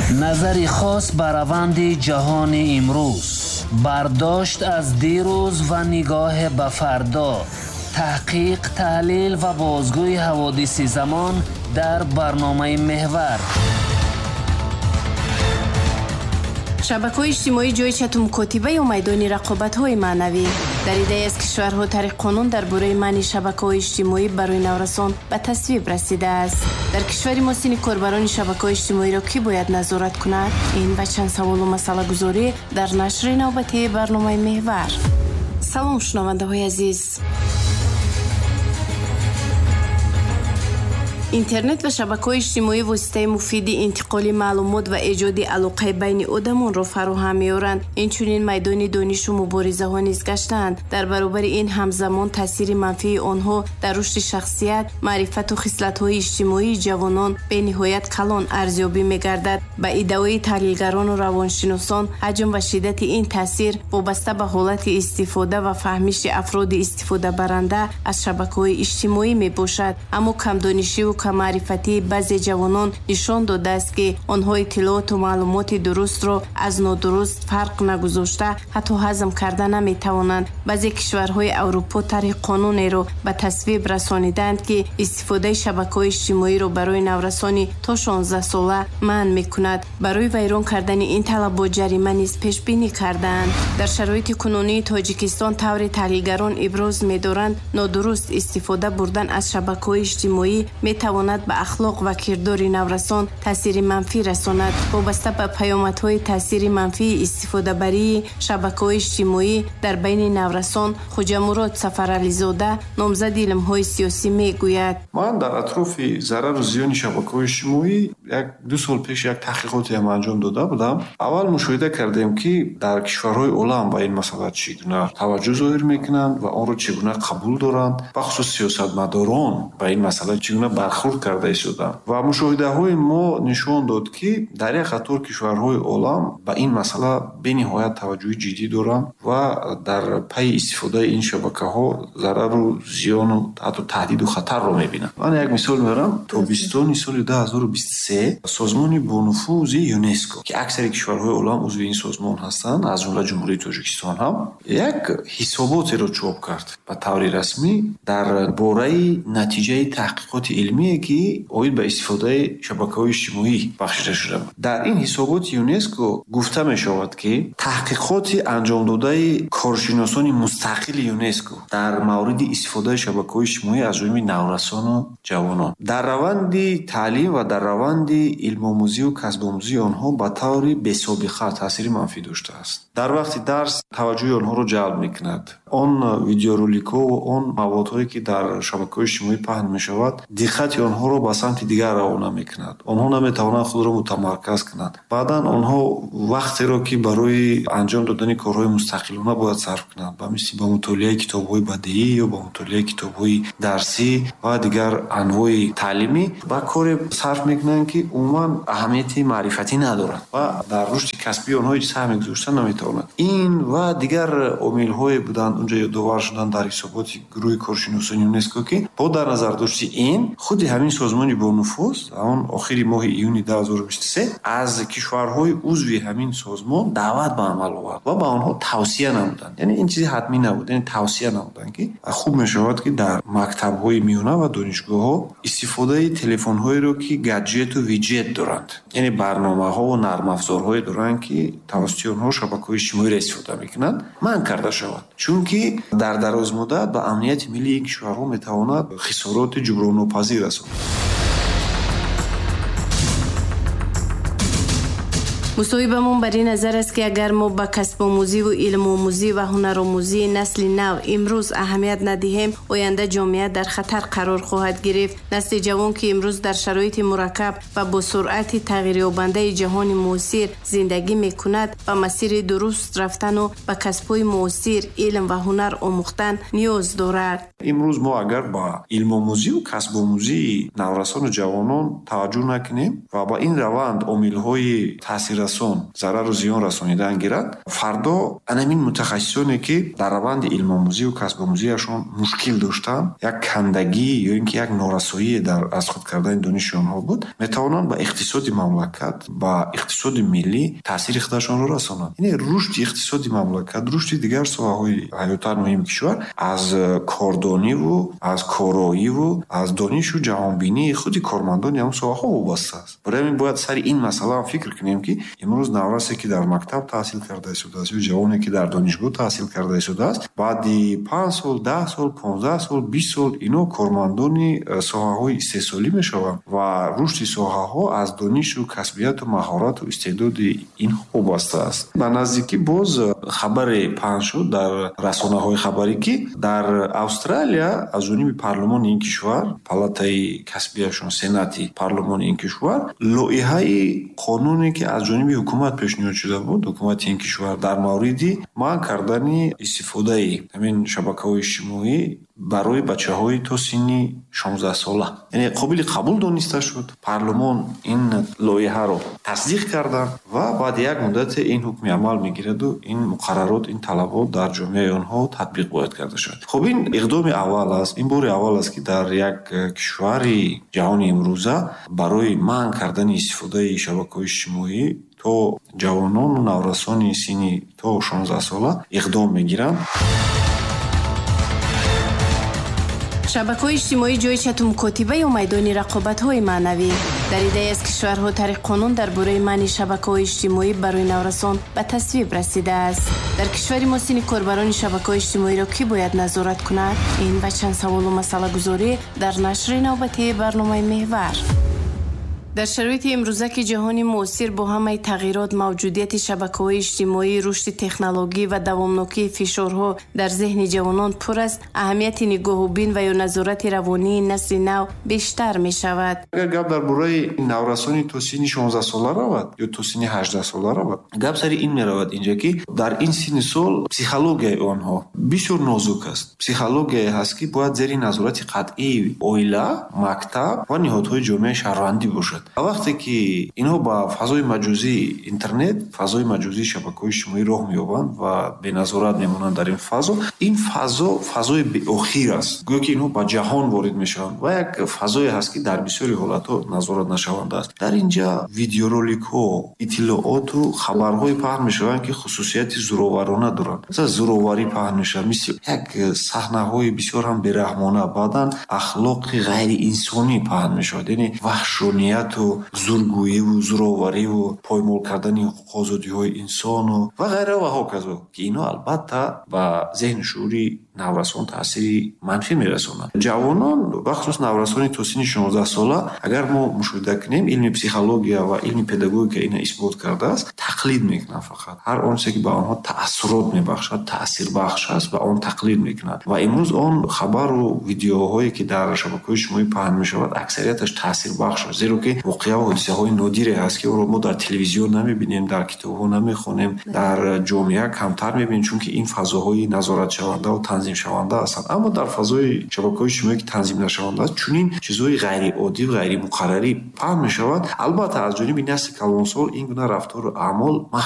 Назари хос ба раванди ҷаҳони имрӯз, бардошт аз дирӯз ва нигоҳ ба фардо, таҳқиқ, таҳлил ва бозгӯи ҳаводиси замон дар барномаи Меҳвар. Шабакаҳои иҷтимоӣ ҷои чату мукотиба ё майдони рақобатҳои маънавӣ. Дар иддаи аз кишварҳо тариқ қонун дар бораи манъи шабакаҳои иҷтимоӣ барои наврасон ба тасвиб расидааст. Дар кишвари мо синни корбарони шабакаҳои иҷтимоиро кӣ бояд назорат кунад? Ин ва чанд саволу масъалагузорӣ дар нашри навбатии барномаи Меҳвар. Салом, шунавандаҳои азиз. Интернет ва шабакаҳои иҷтимоӣ воситаи муфиди интиқоли маълумот ва эҷоди алоқаи байни одамонро фароҳам меоранд. Инчунин майдони донишу муборизаҳо низ гаштаанд. Дар баробари ин ҳамзамон таъсири манфии онҳо дар рушди шахсият, маърифату хислатҳои иҷтимоии ҷавонон бениҳоят калон арзёбӣ мегардад. Ба иддаои таҳлилгарону равоншиносон, ҳаҷм ва шиддати ин таъсир вобаста ба ҳолати истифода ва фаҳмиши афроди истифодабаранда аз шабакаҳои иҷтимоӣ мебошад. Аммо камдонишиву каммаърифатии баъзе ҷавонон нишон додааст, ки онҳо иттилооту маълумоти дурустро аз нодуруст фарқ нагузошта, ҳатто ҳазм карда наметавонанд. Баъзе кишварҳои Аврупо тарҳи қонунеро ба тасвиб расонидаанд, ки истифодаи шабакаҳои иҷтимоиро барои наврасони то 16 сола манъ мекунад. Барои вайрон кардани ин талабот ҷарима низ пешбинӣ кардаанд. Дар шароити кунунии Тоҷикистон тавре таҳлилгарон иброз медоранд, нодуруст истифода бурдан аз шабакаҳои иҷтимоӣ метавонад ба ахлоқ ва кирдори наврасон таъсири манфӣ расонад. Вобаста ба паёмадҳои таъсири манфии истифодабарии шабакаҳои иҷтимоӣ дар байни наврасон, Хуҷамурод Сафарализода, номзади илмҳои сиёсӣ, мегӯяд: Ман дар атрофи зарару зиёни шабакаҳои иҷтимоӣ 1-2 сол пеш як таҳқиқотеам анҷом дода будам. Аввал мушоҳида кардем, ки дар кишварҳои олам ба ин масъала чӣ гуна таваҷҷӯҳ зоҳир мекунанд ва онро чӣ гуна қабул доранд, бахусус сиёсатмадорон ба ин масъала чӣ гуна бархӯрд карда истоданд. Ва мушоҳидаҳои мо нишон дод, ки дар як қатор кишварҳои олам ба ин масъала бениҳоят таваҷҷӯҳи ҷиддӣ доранд ва дар пайи истифодаи ин шабакаҳо зарару зиёну ҳатто таҳдиду хатарро мебинанд. Ман як мисол меорам. Тобистони соли 2023 созмони бонуфузи ЮНЕСКО, ки аксари кишварҳои олам узви ин созмон ҳастанд, аз ҷумла Ҷумҳурии Тоҷикистон ҳам, як ҳисоботеро чоп кард ба таври расмӣ дар бораи натиҷаи таҳқиқоти илмие, ки оид ба истифодаи шабакаҳои иҷтимоӣ бахшида шуда буд. Дар ин ҳисоботи ЮНЕСКО гуфта мешавад, ки таҳқиқоти анҷомдодаи коршиносони мустақили ЮНЕСКО дар мавриди истифодаи шабакаҳои иҷтимоӣ аз ҷониби наврасону ҷавонон дар раванди таълим ва дар раванди илмомӯзию касбомӯзии онҳо ба таври бесобиқа таъсири манфӣ доштааст. Дар вақти дарс таваҷҷӯҳи онҳоро ҷалб мекунад. Он видеороликҳо ва он маводҳое, ки дар шабакаҳои иҷтимоӣ паҳн мешавад, диққати онҳоро ба самти дигар равона мекунад. Онҳо наметавонанд худро мутамарказ кунанд. Баъдан онҳо вақтеро, ки барои анҷом додани корҳои мустақилона бояд сарф кунанд, ба мисли ба мутолиаи китобҳои бадеӣ ё ба мутолиаи китобҳои дарсӣ ва дигар анвои таълимӣ, ба коре сарф мекунанд, ки умуман аҳамияти маърифатӣ надорад ва дар рушди касбии онҳо ҳеҷ саҳме гузошта наметавонад. Ин ва дигар омилҳое буданд унҷо ёдовар шуданд дар ҳисоботи гурӯҳи коршиносони ЮНЕСКО, ки бо дар назар дошти ин худи ҳамин созмони бонуфуз он охири моҳи июни 2023 аз кишварҳои узви ҳамин созмон даъват ба амал овард ва ба онҳо тавсия намуданд. Яъне ин чизи ҳатмӣ набуд, яъне тавсия намуданд, ки хуб мешавад, ки дар мактабҳои миёна ва донишгоҳҳо истифодаи телефонҳоеро, ки гаджету виджет доранд, яъне барномаҳо ва нармафзорҳое доранд, ки тавассути онҳо шабакаҳои иҷтимоиро истифода мекунанд, манъ карда шавад. Чунки дар дарозмуддат ба амнияти миллии ин кишварҳо метавонад хисороти ҷуброннопазир расонад. Мусоҳибамон бар ин назар аст, ки агар мо ба касбомӯзиву илмомӯзӣ ва ҳунаромӯзии насли нав имрӯз аҳамият надиҳем, оянда ҷомеа дар хатар қарор хоҳад гирифт. Насли ҷавон, ки имрӯз дар шароити мураккаб ва бо суръати тағйирёбандаи ҷаҳони муосир зиндагӣ мекунад, ба масири дуруст рафтану ба касбҳои муосир, илм ва ҳунар омӯхтан ниёз дорад. Имрӯз мо агар ба илмомӯзиву касбомӯзии наврасону ҷавонон таваҷҷӯҳ накунем ва ба ин раванд омилҳои таъсиррасони таъсиррасон, зарару зиён расонидан гирад, фардо анамин мутахассисоне, ки дар раванди илмомӯзию касбомӯзиашон мушкил доштанд, як кандагӣ ё ин ки як норасоие дар аз худ кардани дониши онҳо буд, метавонанд ба иқтисоди мамлакат, ба иқтисоди миллӣ таъсири худашонро расонанд. Яъне рушди иқтисоди мамлакат, рушди дигар соҳаҳои ҳаётан муҳими кишвар аз кордониву аз короиву аз донишу ҷаҳонбинии худи кормандони ҳамон соҳаҳо вобаста аст. Барои ҳамин бояд сари ин масъала ҳам фикр кунем, ки имрӯз наврасе, ки дар мактаб таҳсил карда истодааст, ё ҷавоне, ки дар донишгоҳ таҳсил карда истодааст, баъди 5 сол, 10 сол, 15 сол, 20 сол ино кормандони соҳаҳои истеҳсолӣ мешаванд ва рушди соҳаҳо аз донишу касбияту маҳорату истеъдоди инҳо вобаста аст. Ба наздикӣ боз хабаре паҳн шуд дар расонаҳои хабарӣ, ки дар Австралия аз ҷониби парлумони ин кишвар, палатаи касбияшон, сенати парлумони ин кишвар, лоиҳаи қонуне, ки аз ҷониби ҳукумат пешниҳод шуда буд, ҳукумати ин кишвар, дар мавриди манъ кардани истифодаи ҳамин шабакаҳои иҷтимоӣ барои бачаҳои то синни 16-сола, яъне қобили қабул дониста шуд. Парлумон ин лоиҳаро тасдиқ карданд ва баъди як муддате ин ҳукми амал мегираду ин муқаррарот, ин талабот дар ҷомеаи онҳо татбиқ бояд карда шавад. Хуб, ин иқдоми аввал аст, ин бори аввал аст, ки дар як кишвари ҷаҳони имрӯза барои манъ кардани истифодаи шабакаҳои иҷтимоӣ то ҷавонону наврасони синни то 16-сола иқдом мегиранд. Шабакаҳои иҷтимоӣ ҷои чату мукотиба ё майдони рақобатҳои маънавӣ? Дар иддаи аз кишварҳо тариқ қонун дар бораи манъи шабакаҳои иҷтимоӣ барои наврасон ба тасвиб расидааст. Дар кишвари мо синни корбарони шабакаҳои иҷтимоиро кӣ бояд назорат кунад? Ин ва чанд саволу масъалагузорӣ дар нашри навбатии барномаи «Меҳвар». Дар шароити имрӯза, ки ҷаҳони муосир бо ҳамаи тағйирот, мавҷудияти шабакаҳои иҷтимоӣ, рушди технологӣ ва давомнокии фишорҳо дар зеҳни ҷавонон пур аст, аҳамияти нигоҳубин ва ё назорати равонии насли нав бештар мешавад. Агар гап дар бораи наврасони то синни 16-сола равад ё то синни 18-сола равад, гап сари ин меравад инҷа, ки дар ин синни сол психологияи онҳо бисёр нозук аст. Психологияе ҳаст, ки бояд зери назорати қатъии оила, мактаб ва ниҳодҳои ҷомеаи шаҳрвандӣ бошад. Вақте ки инҳо ба фазои маҷозии интернет, фазои маҷозии шабакаҳои иҷтимоӣ роҳ меёбанд ва беназорат мемонанд дар ин фазо, ин фазо фазои беохир аст, гӯё ки инҳо ба ҷаҳон ворид мешаванд ва як фазое ҳаст, ки дар бисёри ҳолатҳо назорат нашаванда аст. Дар ин ҷа видеороликҳо, иттилооту хабарҳое паҳн мешаванд, ки хусусияти зӯроварона доранд. Масалан, зӯроварӣ паҳн мешавад, мисли як саҳнаҳои бисёр ҳам бераҳмона, баъдан ахлоқи ғайриинсонӣ паҳн мешавад, яъне ваҳшонияту зургӯиву зӯровариву поймол кардани ҳуқуқу озодиҳои инсону ва ғайра ва ҳоказо, ки инҳо албатта ба зеҳну шуури наврасон таъсири манфӣ мерасонанд. Ҷавонон, бахусус наврасони то синни 16-сола, агар мо мушоҳида кунем, илми психология ва илми педагогика ина исбот кардааст, тақлид мекунанд фақат ҳар он чизе, ки ба онҳо таассурот мебахшад, таъсирбахш аст, ба он тақлид мекунанд. Ва имрӯз он хабару видеоҳое, ки дар шабакаҳои иҷтимоӣ паҳн мешавад, аксарияташ таъсирбахш аст, зеро ки воқеа ва ҳодисаҳои нодире ҳаст, ки онро мо дар телевизион намебинем, дар китобҳо намехонем, дар ҷомеа камтар мебинем, чунки ин фазоҳои назоратшавандаву танзимшаванда ҳастанд. Аммо дар фазои шабакаҳои иҷтимоӣ, ки танзим нашаванда аст, чунин чизҳои ғайриоддӣ, ғайримуқаррарӣ паҳн мешавад. Албатта, аз ҷониби насли калонсол ин гуна рафтору аъмол маҳкум